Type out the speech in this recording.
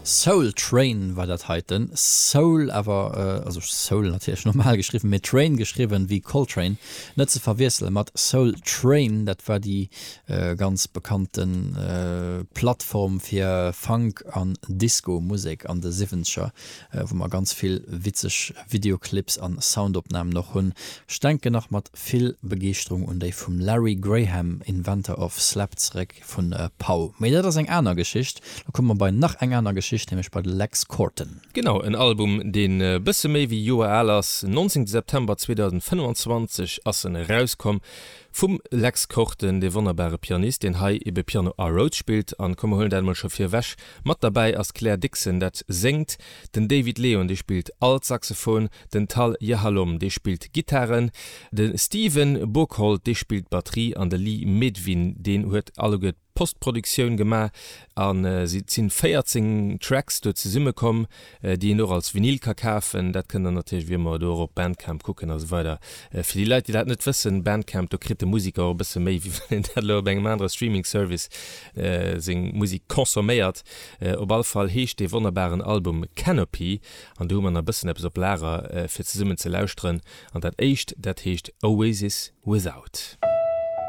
Soul Train war dat heiten. Soul awer, also Soul natierlech normal geschriwwen, mee Train geschriwwen wéi Coltrane, net ze verwiessele mat Soul Train. Dat war déi ganz bekannte Plattform fir Funk an Disco-Musek an de Siwwenzeger, wou mer ganz vill witzeg Videoclips an Soundopnamen och hunn. Ech denken nach mat vill Begeeschterung un déi vum Larry Graham, Inventor of Slap, zeréck vun Pau. Mee dat ass eng aner Geschicht. Lo komme mer bei nach eng aner Geschicht, nämlech bei de Lex Korten. Genau, en Album deen e bësse méi wéi Joer al ass. 19 September 2025 ass en erauskomm vum Lex Korten, dee wonnerbare Pianist, deen hei ebe Piano a Rhodes spillt. An komm mer huelen dat emol scho virwech, mat derbäi ass d'Claire Dixon, dat séngt, den David Leon, dee spillt Altsaxophon, den Tal Yahalom, dee spillt Gittaren, de Steven Boekholt, dee spillt Batterie an de Lee Medvin, deen huet alleguer d'Postproduktioun gemaach. An et sinn 14 Tracks do zesumme komm, déi een och als Vinyl ka kafen. Dat kënnt der natierlech wéi ëmmer do och op Bandcamp kucken a sou weider. Fir déi Leit, déi dat net wëssen, Bandcamp, do kritt de Musiker och e bësse méi, wéi wann een dat elo op engem anere Streaming Service seng Musek consomméiert. Op all Fall heescht dee wonnerbaren Album Canopy an do hu mer nach e bëssen eppes op Lager fir zesummen ze lauschteren. An dat éischt, dat heescht Oasis Without.